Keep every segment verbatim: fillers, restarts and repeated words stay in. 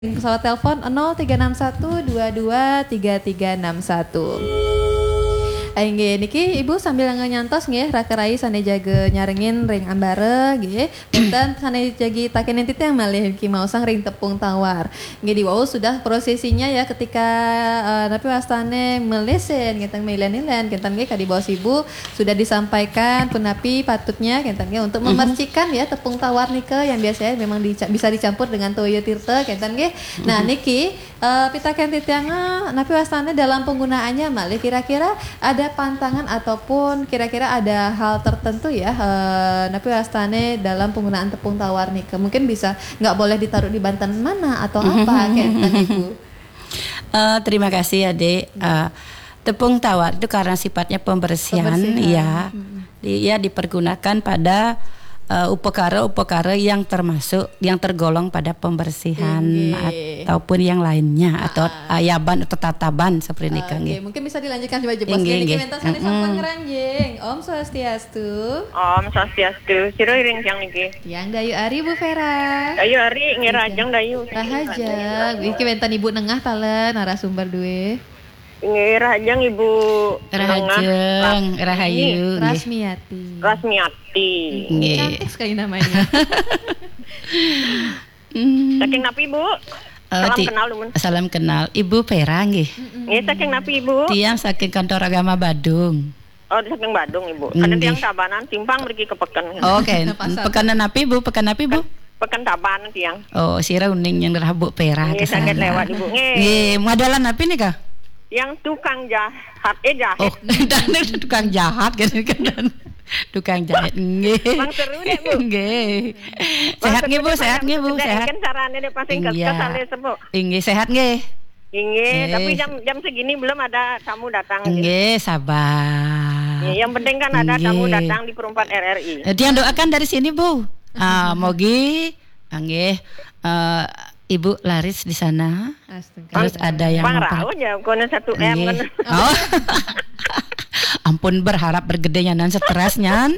Pesawat telepon nol tiga enam satu dua dua tiga tiga enam satu. Inggih, niki Ibu sambil ngantos nggih, raka rai sané jaga nyarengin ring ambara nggih. Wénten sané jagi takénin titiang malih niki maosang ring tepung tawar. Nggih, di wau sudah prosesinya ya, ketika, eh, napi wastané melisin, kénten, melisin-lisin, kénten nggih, kadi baos Ibu sudah disampaikan punapi patutnya, kénten nggih, untuk memercikkan ya tepung tawar nika yang biasanya memang dica-, bisa dicampur dengan toya tirta, kénten nggih. Nah, niki, eh, pitakén titiang, eh, napi wastané dalam penggunaannya malih, kira-kira ada pantangan ataupun kira-kira ada hal tertentu ya, eh, napi wastané dalam penggunaan tepung tawar nika. Mungkin bisa nggak boleh ditaruh di banten mana atau apa, kénten, Ibu? Eh, terima kasih, Adik. Eh, tepung tawar itu karena sifatnya pembersihan, pembersihan, ya. Mm-mm. Di-, ya, dipergunakan pada, eh, upakara-upakara yang termasuk, yang tergolong pada pembersihan inggih, ataupun yang lainnya, atau ayaban atau tataban seperti ini, oke, nggih. Mungkin bisa dilanjutkan coba jebos. Inggih, nggih, niki wénten sané sampun ngranjing. Om Swastiastu. Om Swastiastu. Sira iring tiang niki? Tiang Dayu Ari, Bu Vera. Dayu Ari, nggih, rahajeng, Dayu. Rahajeng. Niki wénten Ibu Nengah taler, narasumber dué. Nggih, rahajeng Ibu Nengah. Rahajeng, rahayu, nggih. Rasmiati. Rasmiati. Nggih. Cantik sekali namanya. Hmm. Saking napi, Bu? Eh, salam kenal, dumun. Salam kenal. Ibu Vera, nggih. Mm-mm. Nggih, saking napi, Ibu? Tiang saking Kantor Agama Badung. Oh, saking Badung, Ibu. Nggih. Kadén tiang Tabanan, timpang mriki ka peken. Oke, peken napi, Bu? Peken napi, Bu? Peken Tabanan tiang. Oh, sira uning yang rereh Bu Vera. Nggih, saged liwat, Ibu. Nggih. Nggih, madalan napi nika? Yang tukang jahat, eh, jahit. Oh, dan tukang jahat kan, kan. Tukang jahit, nggih. Bang seru deh, Bu. Nggih. Sehat nggih, Bu, sehat nggih, Bu, sehat. Kan carane nek pas sing kesales, Bu. Nggih, sehat nggih. Nggih, tapi jam, jam segini belum ada tamu datang, nggih. Nggih, sabar. Nggih, yang penting kan ada tamu datang di Perumpat R R I. Eh, tiang doakan dari sini, Bu. Ah, mogi, nggih, eh, Ibu laris di sana. Astaga. Terus ada yang pang memper- rauh ya, kono satu M nggih. Kan. Oh. Ampun, berharap bergedenya nan stres nyan.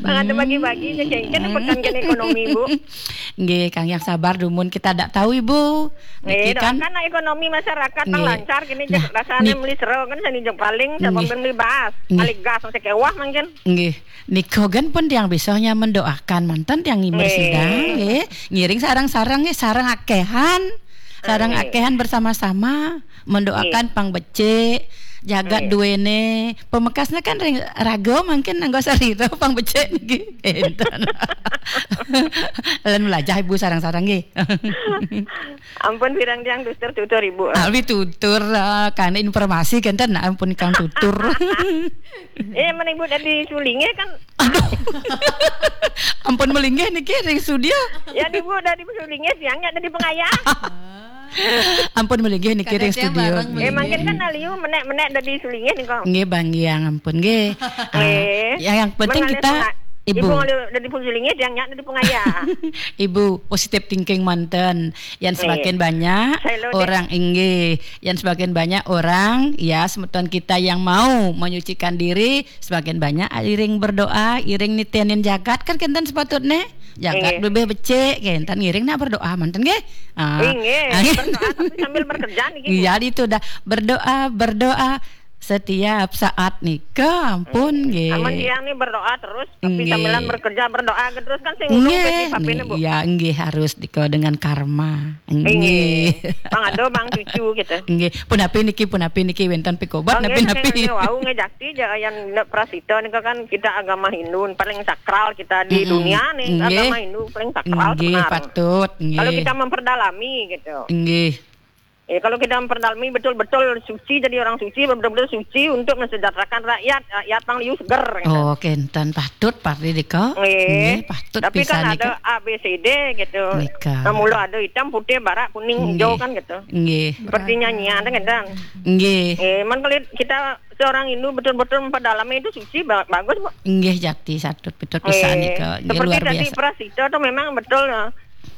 Bang, ada bagi-bagi ya, kayak kan pekan kan ekonomi, Bu. Nggih, Kang, yang sabar dumun, kita ndak tahu, Ibu. Nggih, niki kan doakan lah ekonomi masyarakat nggih. Lancar kini. Nah, rasane nik-, meli sero kan seni jeng paling sama nggih. Meli bas, nggih. Kali gas masih kewah mungkin. Nggih. Nika kan pun tiang bisa hanya mendoakan manten tiang nggih. Nggih. Ngiring sareng-sareng nggih, sareng akehan. Sareng akehan bersama-sama mendoakan pang becik, jagat duene. Pamekasne kan ring raga mangkin anggo sarira pang becik niki. Enten. Lan melajah Ibu sareng-sareng nggih. Ampun pirang tiang tutur-tutur Ibu. Awi tutur, eh, karena informasi kenten, ampun kang tutur. Eh, men Ibu dadi sulinge kan. Aduh. Ampun melinggih niki ring studio. Ya, Ibu dadi sulinge, tiang nyak dadi pengayah. Ampun melinggih niki ring studio. Eh, mangkin kan aliu menek-menek dadi sulinge nika. Nggih, Bang, yang ampun nggih. Ah, yang, yang penting kita Ibu. Ibu dadi sulinge, tiang nyak dadi pengayah. Ibu positive thinking manten. Yang semakin banyak orang, inggih, yang semakin banyak orang, ya, semeton kita yang mau menyucikan diri, semakin banyak iring berdoa, iring nitenin jagat, kan kenten sepatutnya. Jagat lebih becik, kenten ngiring nak berdoa, manten nggih. Ah. Inggih, berdoa tapi sambil bekerja niki. Iya, itu dah. Berdoa, berdoa setiap saat nika, ampun nggih. Amun tiang nih berdoa terus, tapi sambilan bekerja, berdoa terus kan sing nggih, nggih, Bu. Ya, nggih, harus nika dengan karma. Nggih. Nggih. Bang ado, bang cucu gitu. Nggih. Punapi niki, punapi niki wenten pikobet napi-napi. Nggih, wau nggih jakti ja yang prasita nika kan kita agama Hindu paling sakral kita di dunia nih, agama Hindu paling sakral. Nggih, patut, nggih. Kalau kita memperdalami gitu. Nggih. Eh, kalau kita memperdalami betul-betul suci, jadi orang suci, betul-betul suci untuk mensejahterakan rakyat, rakyat pang liu seger, gitu. Oh, kenten patut, Pak Ridika. Nggih. Nggih, patut. Tapi pisan kan ada nika. A B C D gitu. Nika. Nah, mula ada hitam, putih, barak, kuning, hijau kan gitu. Nggih. Seperti nyanyian kan gitu. Nggih. Eh, man kalau kita seorang Hindu betul-betul memperdalami itu suci, ba-, bagus, Bu. Nggih, jati, patut, patut pisan nika. Nggih, luar biasa. Seperti tadi prasita tuh memang betul, ya.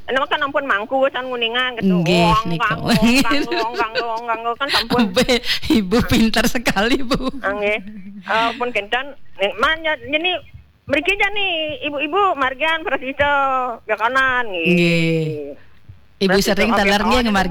Nama kan ampun mangku san nguningan gitu. Nggih, wong, nika. Wong, wong, wong, wong, wong, kan sampun. Be, Ibu pintar sekali, Bu. Ah, nggih. Eh, pun kenten, nih, man, ya, jadi mriki jani ibu-ibu margian prasita ya kanan nggih. Nggih. Ibu sering teler nggih ngemar